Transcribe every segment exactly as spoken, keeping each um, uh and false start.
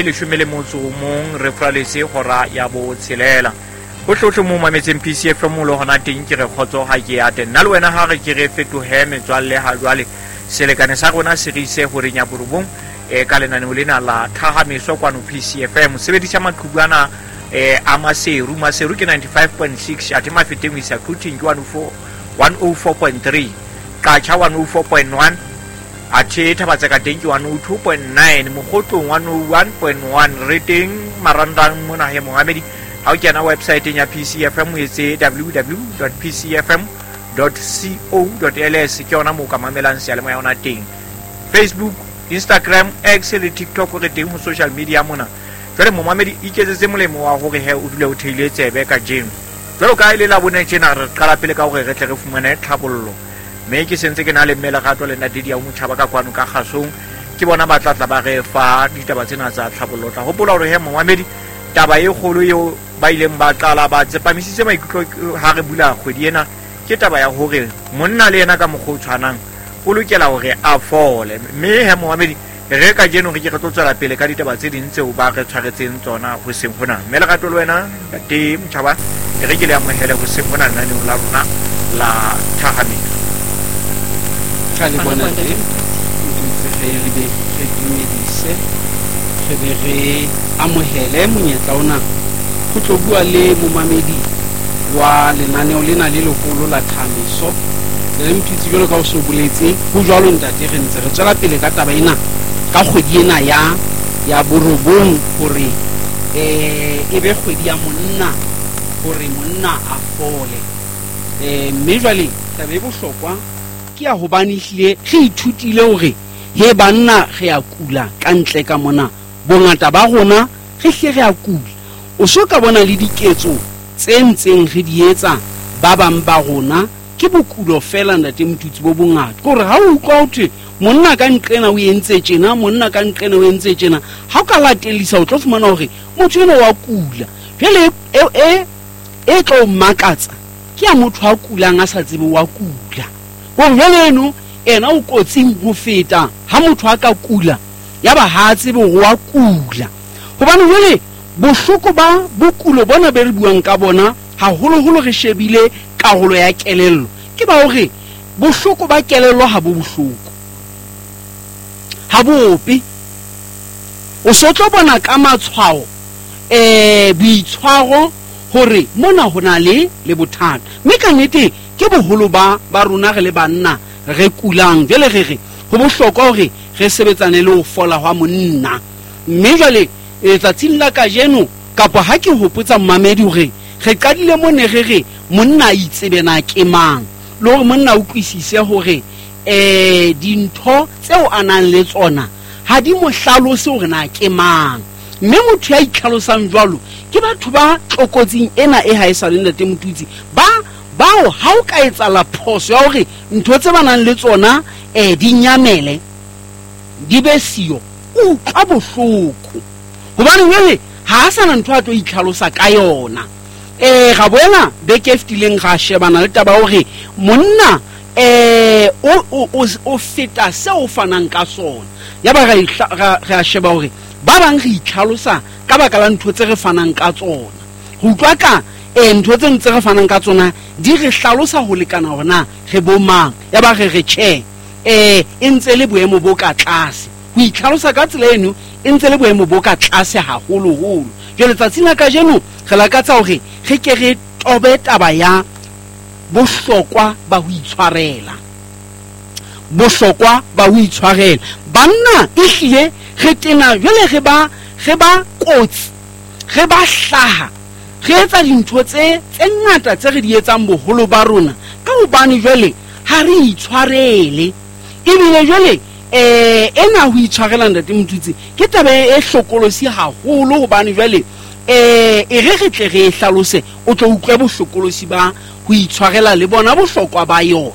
Leshome le motso o mong re fraletse hora ya botshelela. Hohlohle mo mametseng P C F M le hona teng ke re kgotso ha ke ya teng. Nna le wena ha re ke re fetohe metswalle ha jwale selekane sa rona se re ise horeng ya borobong e ka lenaneo lena la Thahameso kwano P C F M. Sebedisa maqhubu ana eh a Maseru. Maseru ke ninety-five point six, athe Mafeteng ho isa Quthing ke one oh four, one oh four point three, Qacha one oh four point one, athe Thabatseka teng ke one oh two point nine, Mokgotlong one oh one point one. Re teng marangrang mona he Mohamedi. Ha o kena website ya P C F M o etse w w w dot p c f m dot co dot l s, ke yona moo ka mamelang seyalemoya yona teng. Facebook, Instagram, X le TikTok re teng ho social media mona. Jwale momamedi iketsetse molemo wa hore he o dule o theile tsebe kajeno. Jwalo ka e le la bone tjena re qala pele ka hore re tle re fumane tlhabollo. Mme ke sentse ke na le mme Lerato le ntate Diau Motjhaba ka kwano ka kgasong, ke bona ba tla tla ba re fa ditaba tsena tsa tlhabollo. Tla hopola hore he momamedi taba e kgolo eo ba ileng ba qala ba tsepamisitse maikutlo ha re bula kgwedi ena ke taba ya hore monna le yena ka mokgwa o tshwanang o lokela hore a fole. Mme he momamedi re kajeno re ke re tlo tswela pele ka ditaba tse ding tseo ba re tshwaretseng tsona hoseng hona. Mme Lerato le wena ntate Motjhaba re ke le amohele hoseng hona lenaneong la rona la Thahameso. Ka le bona teng, ntse re re be re dumedise, re be re amohele monyetla ona ho tlo bua le momamedi wa lenaneo lena le leholo la Thahameso. Le Mthutsi jwalo ka o so boletse, ho jwalo ntate, re ntse re tswela pele ka taba ena ka kgwedi ena ya ya borobong hore eh e be kgwedi ya monna, hore monna a fole. Eh mme jwale taba e bohlokwa ke ya hobane ehlile re ithutile hore he banna re a kula ka ntle ka mona, bongata ba rona re hle re a kula. O so ka bona le diketso tse ntseng re di etsa ba bang ba rona ke bokulo fela ntate Mthutsi bo bongata. Ke hore ha o utlwa ho thwe monna ka nqena o entse tjena, monna ka nqena o entse tjena, ha o ka latellisa o tlo fumana hore motho eno wa kula. Jwale e e e tlo makatsa ke ya motho a kulang a sa tsebe wa kula. Hore jwale eno ena o kotsing ho feta ha motho a ka kula ya ba ha tsebe hore wa kula. Hobane jwale bohloko ba bokulo bona be re buang ka bona haholoholo re shebile karolo ya kelello, ke ba hore bohloko ba kelello ha bo bohloko, ha bope. O so tlo bona ka matshwao eh boitshwaro hore mona ho na le le bothata. Mme ka nnete ke boholo ba ba rona re le banna re kulang. Jwale re re ho bohlokwa hore re sebetsane le ho fola hwa monna. Mme jwale letsatsing la kajeno, kapa ha ke hopotsa mmamedi hore re qadile mone re re monna a itsebe na ke mang, le hore monna a utlwisise hore eh dintho tseo a nang le tsona ha di mo hlalose hore na ke mang. Mme motho ya itlhalosang jwalo ke batho ba tlokotsing ena e ha e sa le ntate Mthutsi, ba bao ha o ka etsahala phoso ya hore ntho tse ba nang le tsona eh di nyamele di be siyo, o utlwa bohloko. Hobane jwale ha a sana ntho a tlo itlhalosa ka yona. Eh ga boela beke e fetileng ga shebana le taba hore monna eh o o o feta seo o fanang ka sona. Ya ba re re a sheba hore ba bang re itlhalosa ka baka la ntho tse re fanang ka tsona. Ho utlwa ka eh ntho tse ntse re fanang ka tsona di re hlalosa ho lekana hore na re bo mang. Ya ba re re tjhe eh e ntse le boemo bo ka tlase. Ho itlhalosa ka tsela eno e ntse le boemo bo ka tlase haholoholo. Jwale tsatsing la kajeno re lakatsa hore re ke re tobe taba ya bohlokwa ba ho itshwarela. Bohlokwa ba ho itshwarela. Banna ehlile re tena jwale re ba re ba kotsi, re ba hlaha, re etsa dintho tse tse ngata tse re di etsang boholo ba rona ka hobane jwale ha re itshwarele. Ebile jwale eh ena ho itshwarela ntate Mthutsi ke taba e hlokolosi haholo, hobane jwale eh e re re tle re hlalose o tlo utlwe bohlokolosi ba ho itshwarela le bona bohlokwa ba yona.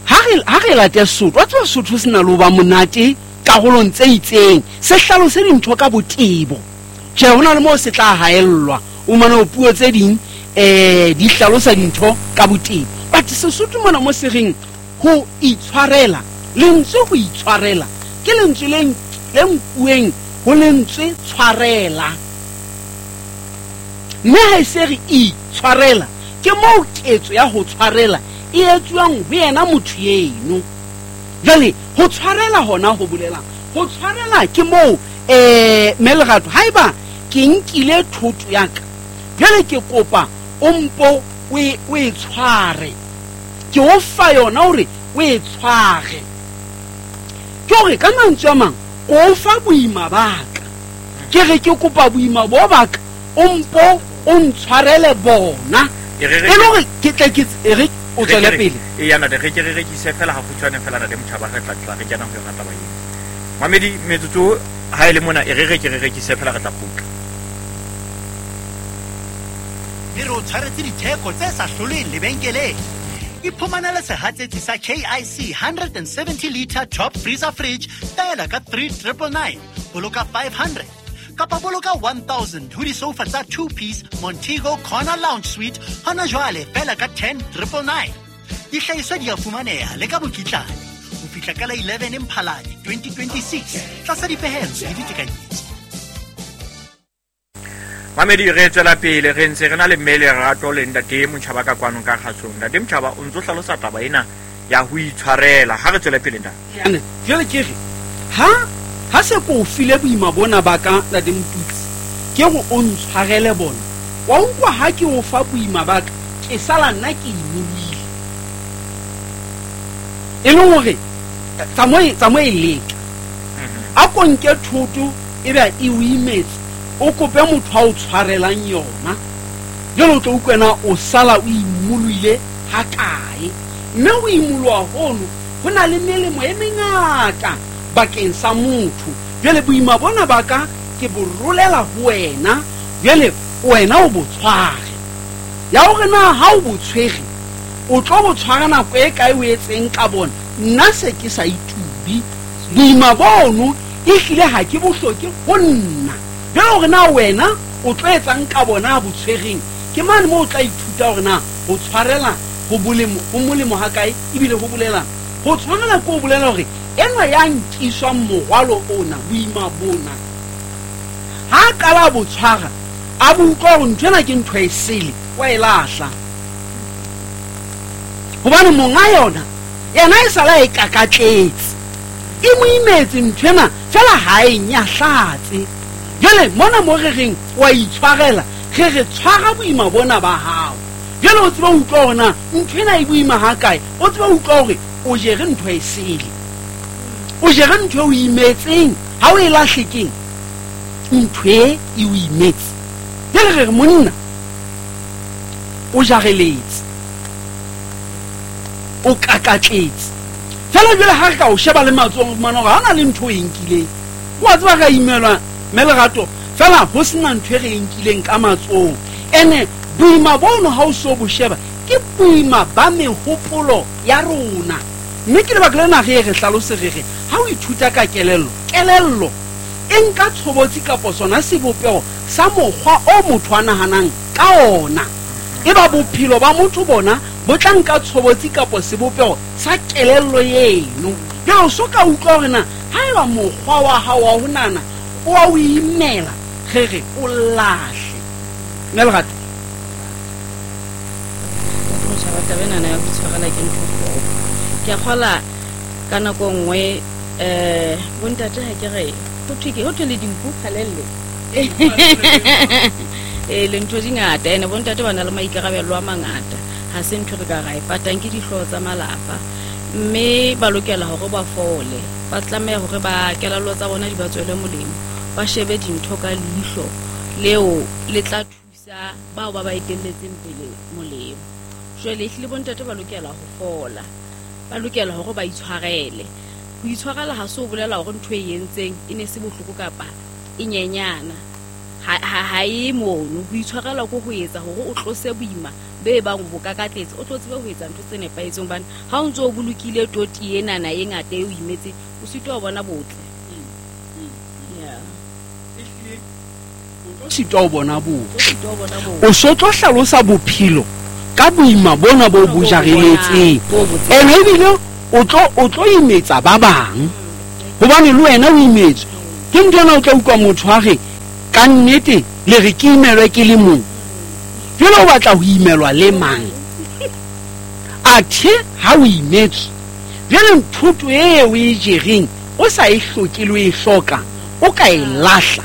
Ha re ha re late Sotho, wa tseba Sotho se na le ho ba monate karolong tse itseng, se hlalose dintho ka botebo. Tjhe, hona le moo se tla haellwa, o mane ho puo tse ding eh di hlalosa dintho ka botebo. But Sesotho mona mo se reng ho itshwarela, lentswe ho itshwarela ke lentswe le le nkuweng ho lentswe tshwarela. Mme ha e se re itshwarela, ke moo ketso ya ho tshwarela e etsuwang ho yena motho eno. Jwale ho tshwarela hona ho bolelang, ho tshwarela ke moo eh mme Lerato haeba ke nkile thoto ya ka, jwale ke kopa o mpo o e o e tshware, ke o fa yona hore o e tshware. Ke hore ka mantswe a mang o fa boima ba ka, ke re ke kopa boima bo ba ka, o mpo o ntshwarele bona, E re e re le hore ke tle ke e re o tswele pele. E yana re ke re rekise fela ha kgutshwane fela ntate Motjhaba, re tla tla re kena ho yona taba eo. Mamedi metsotso ha e le mona, e re re ke re rekise fela re tla kgutla. Re re o tshwaretse ditheko tse sa hloleng lebenkeleng. Iphumanele sehatsetsi sa K I C one seventy liter top freezer fridge fela ka three triple nine, boloka five hundred kapa boloka one thousand ho disofa tsa two piece Montego Corner Lounge Suite hona jwale fela ka ten triple nine. Dihlahiswa di a fumaneha le ka mokitlane ho fihla ka la eleven Mphalane twenty twenty-six tlasa dipehelo le ditekanyetso. Mamedi re tswela pele re ntse re na le mme Lerato le ntate Motjhaba ka kwano ka kgatsong. Ntate Motjhaba o ntso hlalosa taba ena ya ho itshwarela. Ha re tswele pele ntate. Jwale ke re ha ha se ko file boima bona ba ka ntate Motutsi, ke go o ntshwarele bona. Wa utlwa ha ke o fa boima ba ka, ke sala nna ke imolohile. E le hore tsamao tsamao e leka. A ko nke thoto e be e o imetse, o kope motho a o tshwarelang yona. Jwale o tlo utlwa o sala o imolohile ha kae. Mme o imoloha hono ho na le melemo e mengata bakeng sa motho. Jwale boima bona ba ka ke bo rolela ho wena, jwale wena o bo tshware. Ya hore na ha o bo tshwere, o tlo bo tshwara nako e kae o etseng ka bona, nna se ke sa itubi. Boima bono ehlile ha ke bo hloke ho nna. Jwale hore na wena o tlo etsang ka bona bo tshwereng, ke mane moo o tla ithuta hore na ho tshwarela ho bolemo, ho molemo ha kae, ebile ho bolela. Ho tshwarela ke ho bolela hore enwa ya nkiswang morwalo ona, boima bona, ha a qala bo tshwara, a bo utlwa hore ntho ena ke ntho e sele, wa e lahla. Hobane monga yona, yena e sala e kakatletse, e mo imetse ntho ena, fela ha e nyahlatse. Jwale mona mo re reng wa itshwarela, re re tshwara boima bona ba hao. Jwale o tsebe ho utlwa hore na ntho ena e boima ha kae, o tsebe ho utlwa hore o jere ntho e sele, o jere ntho e o imetseng, ha o e lahle keng, ntho e e o imetse. Jwale re re monna o jareletse, o kakatletse. Fela jwale ha re ka o sheba le matsohong, o fumana hore ha ona le ntho e nkileng. Wa tseba re a imelwa mme Lerato, fela ho sena ntho e re e nkileng ka matsohong. Ene boima bono ha o so bo sheba, ke boima ba mehopolo ya rona. Mme ke lebaka lena re re hlalose re re ha o ithuta ka kelello, kelello e nka tshobotsi kapa sona sebopeho sa mokgwa o motho a nahanang ka ona. Eba bophelo ba motho bona bo tla nka tshobotsi kapa sebopeho sa kelello eno. Jwale o so ka utlwa hore na haeba mokgwa wa hao wa ho nahana o a o imela, re re o lahle. Mme Lerato, Motjhaba, taba enana ya ho itshwarela ke ntho e bohloko. Ke a kgola ka nako nngwe eh bontate ha ke re ho thwe ke ho thwe le dinku kgalelle. Eh le ntho di ngata, ene bontate ba na le maikarabelo a mangata. Ha se ntho re ka ra e patang, ke dihlooho tsa malapa. Mme ba lokela hore ba fole, ba tlameha hore ba kelello tsa bona di ba tswele molemo, ba shebe dintho ka leihlo leo le tla thusa bao ba ba etelletseng pele molemo. Jwale ehlile bontate ba lokela ho fola, ba lokela hore ba itshwarele. Ho itshwarela ha se ho bolela hore ntho e entseng e ne se bohloko kapa e nyenyana, ha ha ha e mono. Ho itshwarela ko ho etsa hore o tlose boima be bang bo kakatletse, o tlo tsebe ho etsa ntho tse nepahetseng, hobane ha o ntso o bolokile toti enana e ngata e o imetse, o sitwa ho bona botle. Yeah. O sitwa ho bona botle. O sitwa ho bona botle. O so tlo hlalosa bophelo ka boima bona bo bo jareletseng. Ene ebile o tlo o tlo imetsa ba bang, hobane le wena o imetswe. Ke ntho ena o tla utlwa motho a re ka nnete le re ke imelwe ke le mong. Jwale o batla ho imelwa le mang? Athe ha o imetswe, jwale nthoto eo o e jereng o sa e hloke le o e hloka, o ka e lahla.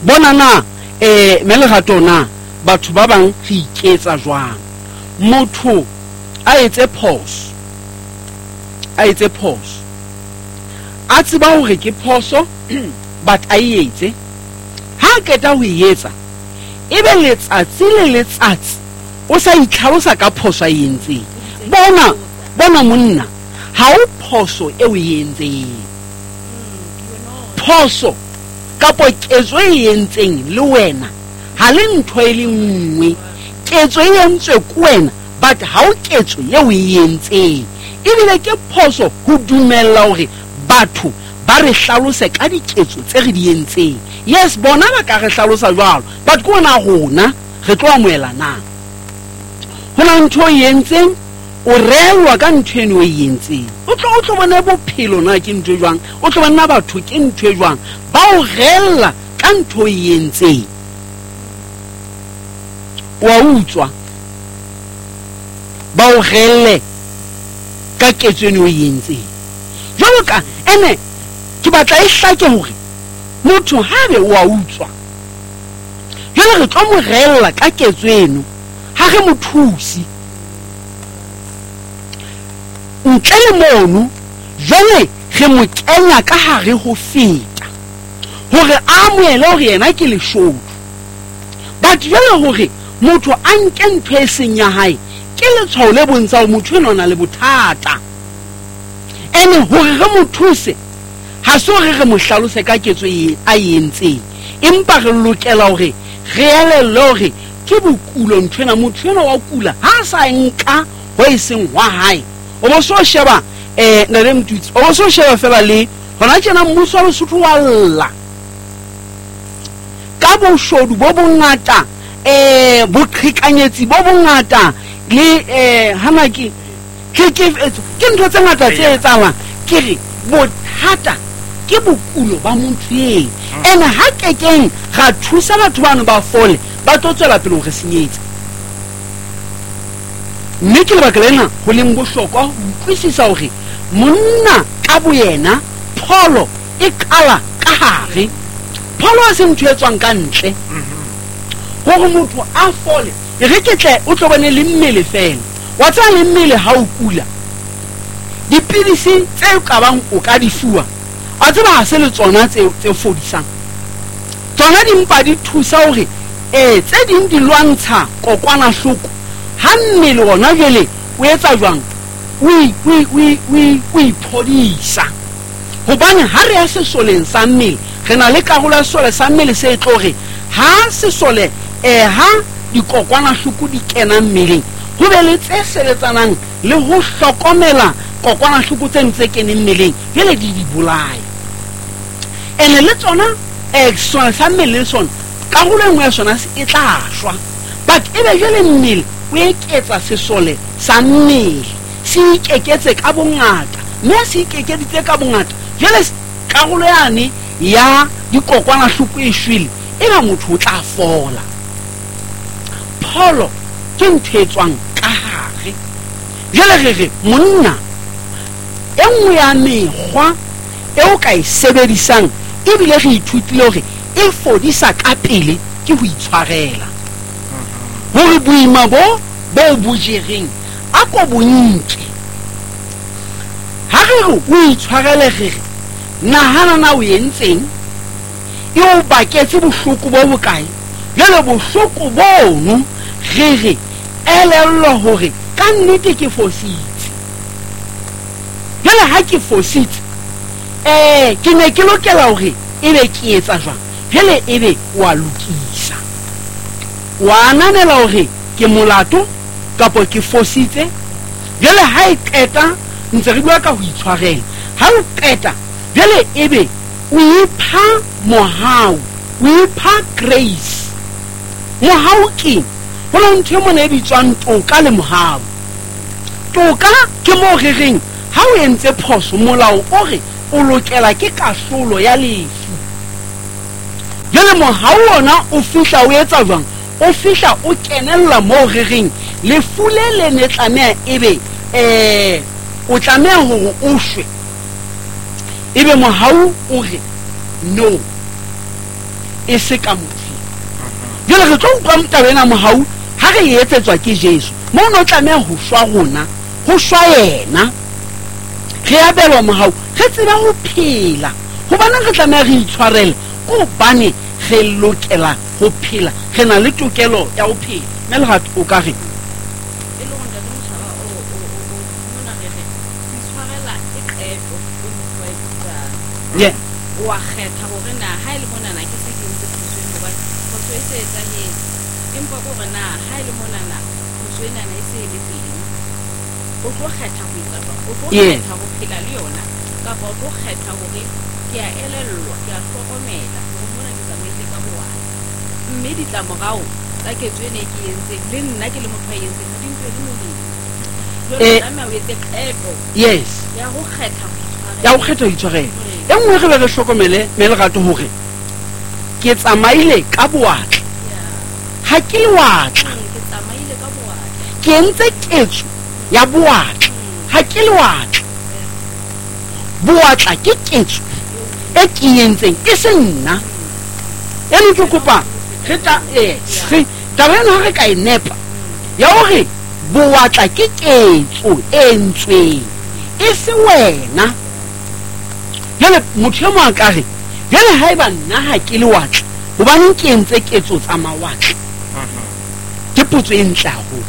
Bona na eh mme Lerato na batho ba bang re iketsa jwang? Motho a etse phoso, a etse phoso, a tseba hore ke phoso, but a e etse. Ha a qeta ho e etsa, ebe letsatsi le letsatsi o sa itlhalosa ka phoso a e entseng. Bona, bona monna, ha o phoso e o e entseng. Phoso kapo ketso e entseng le wena ha le ntho e le nngwe. Ketso e entswe ke wena, but ha o ketso e o e entseng. Ebile ke phoso ho dumella hore batho ba re hlalose ka diketso tse re di entseng. Yes, bona ba ka re hlalosa jwalo, but ke ona rona re tlo amohela na? Ho na ntho e entseng, o reelwa ka ntho eno e entseng. O tlo o tlo bona bophelo na ke ntho e jwang, o tlo bona batho ke ntho e jwang, ba o reella ka ntho e entseng. Wa utswa, ba o reelle ka ketso eno e entseng. Jwalo ka ene ke batla e hlake hore motho ha be wa utswa, jwale re tlo mo reella ka ketso eno, ha re mo thuse. Ntle le mono, jwale re mo kenya ka hare ho feta hore a amohele hore yena ke leshodu. But jwale hore motho a nke ntho e seng ya hae, ke letshwao le bontsha hore motho enwa o na le bothata. Ene hore re mo thuse, ha se hore re mo hlalose ka ketso e a e entseng, empa re lokela hore re elellwe hore ke bokulo ntho ena. Motho enwa wa kula ha a sa nka ho e seng hwa hae. O bo so sheba eh Ntate Mtutsi, o bo so sheba fela le hona tjena mmuso wa Lesotho wa lla ka boshodu bo bongata, eh boqhekanyetsi bo bongata le eh hana ke ke ke ke ntho tse ngata tse etsahalang. Ke re bothata ke bokulo ba motho eo. Ene ha kekeng ra thusa batho bano ba fole, ba tlo tswela pele ho re senyetsa. Mme ke lebaka lena ho leng bohlokwa ho utlwisisa hore monna ka boyena pholo e qala ka hare. Pholo ha se ntho e tswang ka ntle. Hore motho a fole, e re ke tle o tlo bone le mmele fela. Wa tseba le mmele ha o kula, dipidisi tse ka bang o ka di fuwa, a tseba ha se le tsona tse tse fodisang. Tsona di mpa di thusa hore eh tse ding di lwantsha kokwanahloko. Ha mmele ona jwale o etsa jwang, o o iphodisa. Hobane ha re ya sesoleng sa mmele, re na le karolo ya sesole sa mmele se tlo re ha sesole eh ha dikokwanahloko di kena mmeleng, ho be le tse sebetsanang le ho hlokomela kokwanahloko tse ntse keneng mmeleng, jwale di di bolaya. Ene le tsona eh sesole sa mmele le sona karolo e nngwe ya sona e tla shwa, but ebe jwale mmele o eketsa sesole sa mmele, se ikeketse ka bongata, mme se ikekeditse ka bongata, jwale karolo yane ya dikokwanahloko e shwele, eba motho o tla fola. Pholo ke ntho e tswang ka hare. Jwale re re monna, e nngwe ya mekgwa eo ka e sebedisang ebile re ithutile hore e fodisa ka pele ke ho itshwarela. Hore boima bo bo bo jereng a ko bo nke. Ha re re o itshwarele, re re nahana na o entseng, e o baketse bohloko bo bokae. Jwale bohloko bono re re elellwa hore ka nnete ke fositse. Jwale ha ke fositse, eh ke ne ke lokela hore ebe ke etsa jwang? Jwale ebe wa lokisa, wa ananela hore ke molato kapa ke fositse. Jwale ha e qeta, ntse re bua ka ho itshwarela. Ha o qeta jwale ebe o ipha mohau, o ipha grace. Mohau ke ho na ntho e mona e bitswang toka le mohau. Toka ke moo re reng ha o entse phoso, molao o re o lokela ke kahlolo ya lefu. Jwale mohau ona o fihla o etsa jwang? O fihla o kenella moo re reng lefu le le ne tlameha ebe eh o tlameha hore o shwe, ebe mohau o re no, e se ka motho. Jwale re tlo utlwa taba ena mohau ha re e etsetswa ke Jesu. Moo no tlameha ho shwa rona, ho shwa yena, re abelwa mohau, re tseba ho phela. Hobaneng re tlameha re itshwarele? Hobane re lokela ho phela, re na le tokelo ya ho phela. Mme Lerato o ka re e le hore ntate Motjhaba o o o mona re re ho itshwarela ke qeto e motho a e etsang. Yeah. O a kgetha hore na ha e le monana ke se ke entse phoso eno, hobane phoso e se etsahetse, empa ke hore na ha e le monana phoso enana e se e le teng, o tlo kgetha ho etsa jwang? O tlo Yes. kgetha ho phela le yona, kapa o tlo kgetha hore ke a elellwa, ke a hlokomela hore mona ke tsamaile ka bowatla, mme ditlamorao tsa ketso ena e ke e entseng le nna ke le motho a e entseng ha di ntswele molemo. Jwale Eh, o tlameha o etse qeto yes ya ho kgetha ho itshwarela. Ya ho kgetha ho itshwarela. E nngwe re be re hlokomele mme Lerato hore ke tsamaile ka bowatla, Yeah. ha ke lewatla. Mm, ke tsamaile ka bowatla. Ke entse ketso ya bowatla, ha ke lewatla. Bowatla ke ketso e ke e entseng, e se nna. Eno ke kopa re ta yes re taba ena ha re ka e nepa ya hore bowatla ke ketso e entsweng, e se wena. Jwale motho e mong a ka re, jwale haeba nna ha ke lewatla, hobaneng ke entse ketso tsa mawatla? Ke potso e ntle haholo.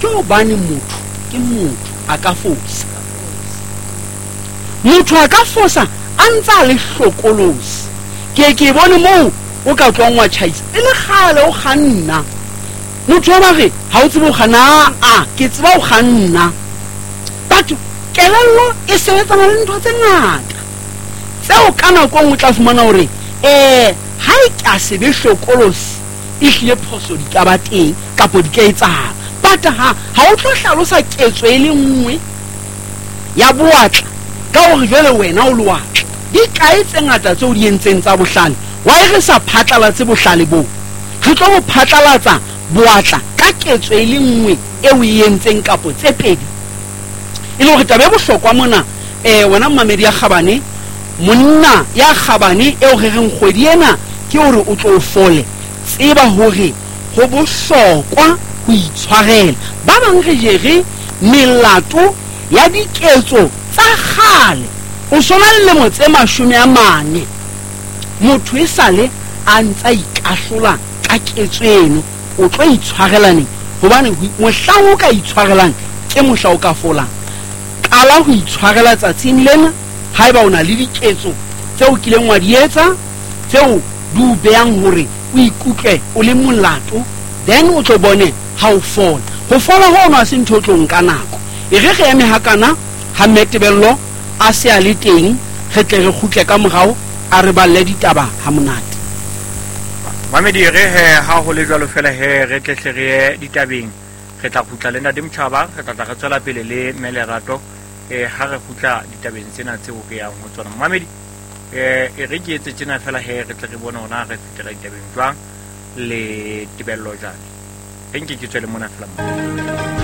Ke hobane motho ke motho, a ka fosa. Motho a ka fosa a ntse a le hlokolosi. Ke ke bone moo o ka tlohang wa tjhaisa e le kgale o kganna. Motho wa ba re ha o tsebe ho kganna, a ke tseba ho kganna. Batho kelello e sebetsana le ntho tse ngata tseo ka nako e nngwe o tla fumana hore eh ha e ka se be hlokolosi, e hlile phoso di ka ba teng kapo di ka etsahala. But ha ha o tlo hlalosa ketso e le nngwe ya bowatla ka hore jwale wena o lewatla. Di kae tse ngata tseo di entseng tsa bohlale? Why re sa phatlalatse bohlale boo? Re tlo bo phatlalatsa bowatla ka ketso e le nngwe eo e entseng kapo tse pedi. E le hore taba e bohlokwa mona, eh wena mmamedi ya kgabane, monna ya kgabane eo re reng kgwedi ena ke hore o tlo fole, tseba hore ho bohlokwa ho itshwarela. Ba bang re jere melato ya diketso tsa kgale. O sona le lemo tse mashome a mane, motho e sale a ntsa ikahlola ka ketso eno. O tlo itshwarela neng? Hobane mohlang o ka itshwarelang ke mohla o ka folang. Qala ho itshwarela tsatsing lena haeba o na le diketso tseo o kileng wa di etsa tseo di o behang hore o ikutlwe o le molato, then o tlo bone ha o fola. Ho fola hono ha se ntho e tlo nka nako. E re re eme hakana ha Mme Tebello a se a le teng, re tle re kgutle ka morao a re balle ditaba ha monate. Mamedi re he ha ho le jwalo fela he re tle hle re ye ditabeng. Re tla kgutla le Ntate Motjhaba, re tla tla re tswela pele le Mme Lerato eh ha re kgutla ditabeng tsena tseo re yang ho tsona. Mamedi eh e re ke etse tjena fela he re tle re bone hore na re fetela ditabeng jwang le Tebello jwang. Re nke ke tswele mona fela mo.